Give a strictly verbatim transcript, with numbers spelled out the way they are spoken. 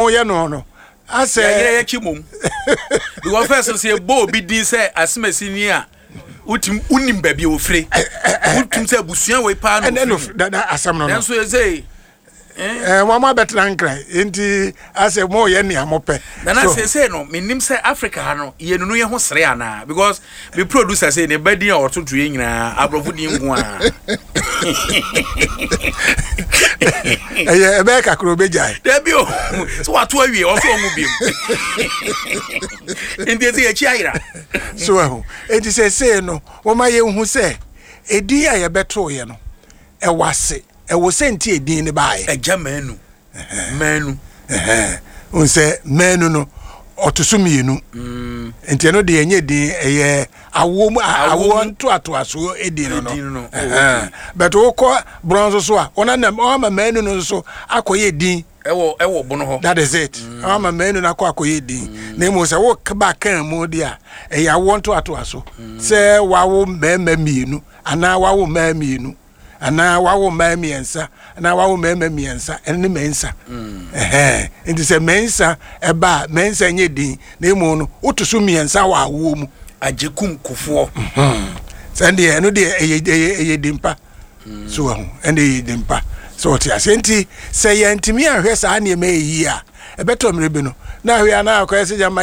Moyɛ no no asɛ Yɛyɛ yɛkyi mom, because first sɛ yɛbɔ obi din sɛ asemasi ni a, wotim wonim baabi a wɔfire, wotim sɛ abusua wei paa na ɛnɛ no wɔfiri mu. Dada asɛm no no Nanso yɛsɛ ɛɛ wɔn abɛtena Nkran, nti asɛ moyɛ nea mopɛ. Nana, So, seesei no menim sɛ Africa ha no yɛnunu yɛ ho sere anaa, because me producer sɛ ne ba din a ɔtoto yɛ nyinaa aborɔfo din nko a. Ɛyɛ ɛbɛyɛ kakra obɛgyae. Dabi o, sɛ wato awie, ɔsɛ ɔmu biom, nti ɛsɛ yɛkyi ayera. So ɛho enti sɛsei no wɔma yɛnhu sɛ edin a yɛbɛtooyɛ no ɛwɔ ase, ɛwɔ sɛ nti edin no baayɛ. Agya Manu, Manu. N sɛ Manu no ɔto so mmienu, nti ɛno deɛ ɛnyɛ din, ɛyɛ awoɔ mu a- Awoɔ awoɔ mu. Ntoatoasoɔ edin no no Edin no, oh, Ɛhɛn. But wokɔ borɔn nso so a, wɔn anam wɔn ama Manu no nso akɔyɛ din. ɛwɔ ɛwɔ Bono hɔ. That is it, wɔn ama Manu no akɔ akɔyɛ din, na emu sɛ wɔkaba kan mu deɛ a, ɛyɛ awoɔ ntoatoaso, sɛ wawo mmarima mmienu anaa wawo mmaa mmienu anaa wawo mmaa mmiɛnsa anaa wawo mmarima mmiɛnsa, ɛno ne mmiɛnsa. Ɛhɛn, nti sɛ mmiɛnsa ɛba a, mmiɛnsa nyɛ din, na emu no woto so mmiɛnsa wɔ awoɔ mu. Agyekum Kofoɔ. Sɛ deɛ ɛno deɛ ɛyɛ ɛyɛ ɛyɛ din pa so wɔ ho, ɛno ɛyɛ din pa sɛ ɔte ase. Nti sɛ yɛntumi ahwɛ saa nneɛma yi yie a, ɛbɛtɔ mmerɛ bi no na ahwɛ anaa akɔyɛ sɛ gyama.